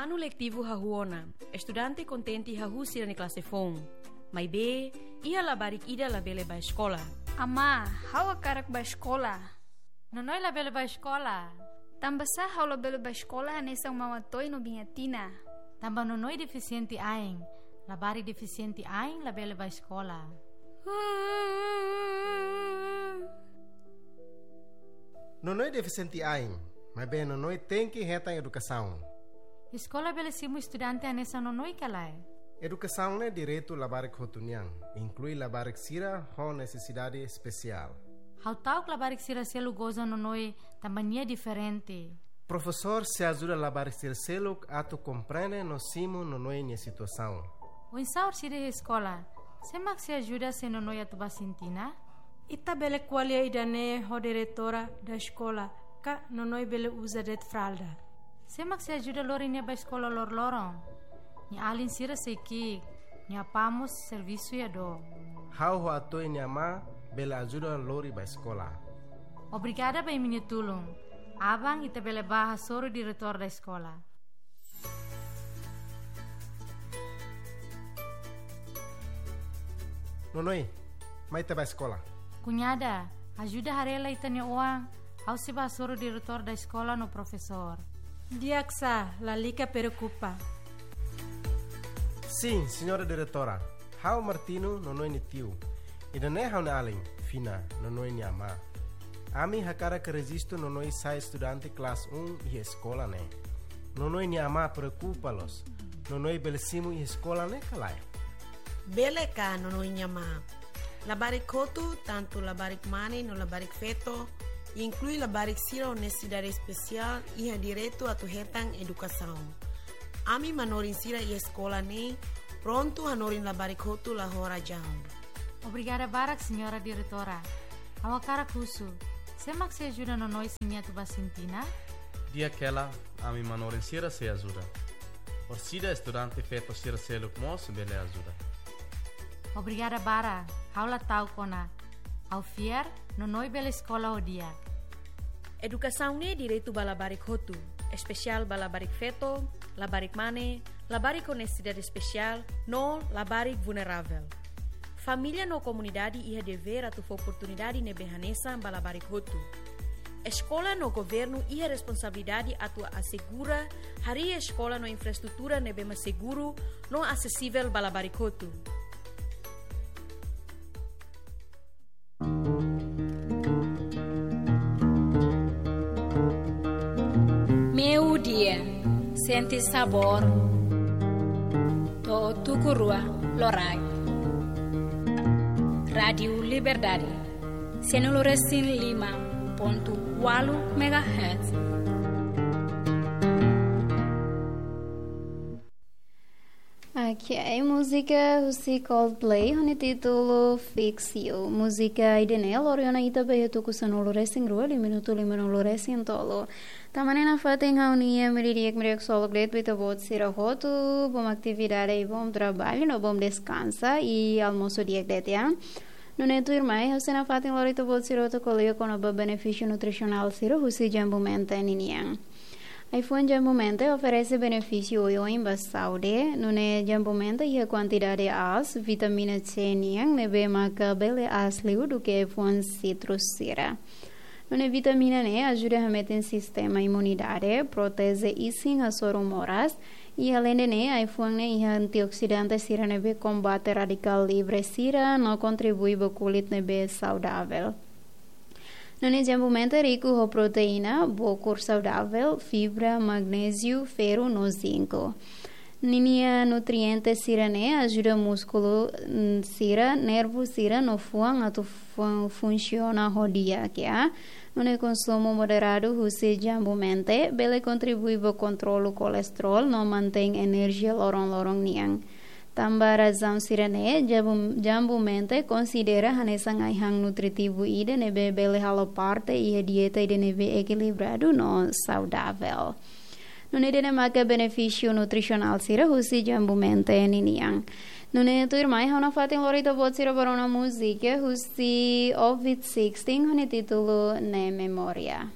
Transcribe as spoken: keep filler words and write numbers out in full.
Anu letivu hahú ona, estudante kontente hahú sira-nia klase foun. Maibé, iha labarik ida labele bá eskola. Amá, ha'u hakarak bá eskola. Nonoi labele bá eskola. Tanbasá ha'u labele bá eskola hanesan Mama Toy no Biña Tina? Tanba Nonoi defisiente ain. Labarik defisiente ain labele bá eskola. Nonoi defisiente ain, maibé Nonoi tenke hetan edukasaun. Eskola bele simu estudante hanesan Nonoi ka lae? Edukasaun ne'e direitu labarik hotu nian, inklui labarik sira ho nesesidade espesiál. Ha'u ta'uk labarik sira seluk goza Nonoi tanba nia diferente. Profesór sei ajuda labarik sira seluk atu komprende no simu Nonoi nia situasaun. Oinsá orsida iha eskola, sé mak sei ajuda se Nonoi atu bá sintina? Ita bele ko'alia ida-ne'e ho diretora da eskola, ka Nonoi bele uza de'it fralda. Sé mak sei ajuda lori nia bá eskola loroloron? Nia alin sira sei ki'ik, nia apá mós servisu iha dook. Ha'u ho Atoy nia amá bele ajuda lori bá eskola. Obrigada ba imi-nia tulun. Aban ita bele bá hasoru diretór da eskola. Nonoi, mai ita bá eskola. Kuñada, ajuda haree lai ita-nia oan, ha'u sei bá hasoru diretór da eskola no profesór. Di'ak sá, lalika preokupa. Sin, señora diretora. Ha'u Martino, Nonoi nia tiu. Ida-ne'e ha'u-nia alin, Fina, Nonoi nia amá. Ami hakarak rejistu Nonoi sai estudante klase um iha eskola ne'e. Nonoi nia amá preokupa loos. Nonoi bele simu iha eskola ne'e ka lae? Bele ka, Nonoi nia amá. Labarik hotu, tantu labarik mane no labarik feto, inklui labarik sira ho nesesidade espesiál, iha direitu atu hetan edukasaun. Ami manorin sira iha eskola ne'e prontu hanorin labarik hotu la ho razaun. Obrigada barak, señora diretora. Ha'u hakarak husu, sé mak sei ajuda Nonoi se nia atu bá sintina? Di'ak hela, ami manorin sira sei ajuda. Orsida estudante feto sira seluk mós bele ajuda. Obrigada barak, ha'u la ta'uk ona. Ha'u fiar, Nonoi bele eskola ho di'ak. Edukasaun ne'e direitu ba labarik hotu, espesiál ba labarik feto, labarik mane, labarik ho nesesidade espesiál, no labarik vulneravel. Família no komunidade iha devér atu fó oportunidade ne'ebé hanesan ba labarik hotu. Eskola no governu iha responsabilidade atu asegura harii eskola no infraestrutura ne'ebé mak seguru no asesivel ba labarik hotu. Meiudia, sente sabór to'o tuku rua loraik. Rádiu Liberdade, cento e cinco e cinco ponto oito megahertz. Ok, múzika husi Coldplay, ho nia títulu Fix You. Múzika ida-ne'e lori ona ita ba iha tuku sanulu-resin-rua, liu minutu limanulu-resin-tolu. Tanba ne'e nafatin ha'u-nia meri di'ak, meri di'ak ksolok de'it ba ita-boot sira hotu, bom atividade i bom trabalho, no bom deskansa, i almosu di'ak de'it, ya. Nune'e tuirmai, ha'u sei nafatin lori ita-boot sira hotu ko'alia kona-ba benefísiu nutrisionál sira husi jambu menta ninian. Ai-fuan jambu menta oferese benefísiu oioin ba saúde, nune'e jambu menta iha kuantidade aas, vitamina C nian, ne'ebé maka bele aas liu duké ai-fuan sitrus sira. Nune'e vitamina ne'e ajuda hametin sistema imunidade, proteje isin hasoru moras, i aleinde ne'e, ai-fuan ne'e iha antioksidante sira ne'ebé kombate radikál livre sira, no kontribui ba kulit ne'ebé saudavel. Nune'e jambu menta riku ho proteína, bokur saudavel, fibra, magnéziu, ferru no zinku. Ninia nutriente sira-ne'e ajuda múskulu, mm, sira, nervu sira no fuan atu fun-, funsiona ho di'ak, ya. Nune'e konsumu moderadu husi jambu menta bele kontribui ba kontrolu kolesterol no mantein enerjia loron-loron nian. Tanba razaun sira-ne'e, jambu, jambu menta konsidera hanesan ai-han nutritivu ida ne'ebé bele halo parte iha dieta ida ne'ebé ekilibradu no saudavel. Nune'e ida-ne'e maka benefísiu nutrisionál sira husi jambu menta ninian. Nune'e tuirmai ha'u nafatin lori ita-boot sira ba rona múzika husi Ovid Sixteen ho nia títulu Ne Memoria.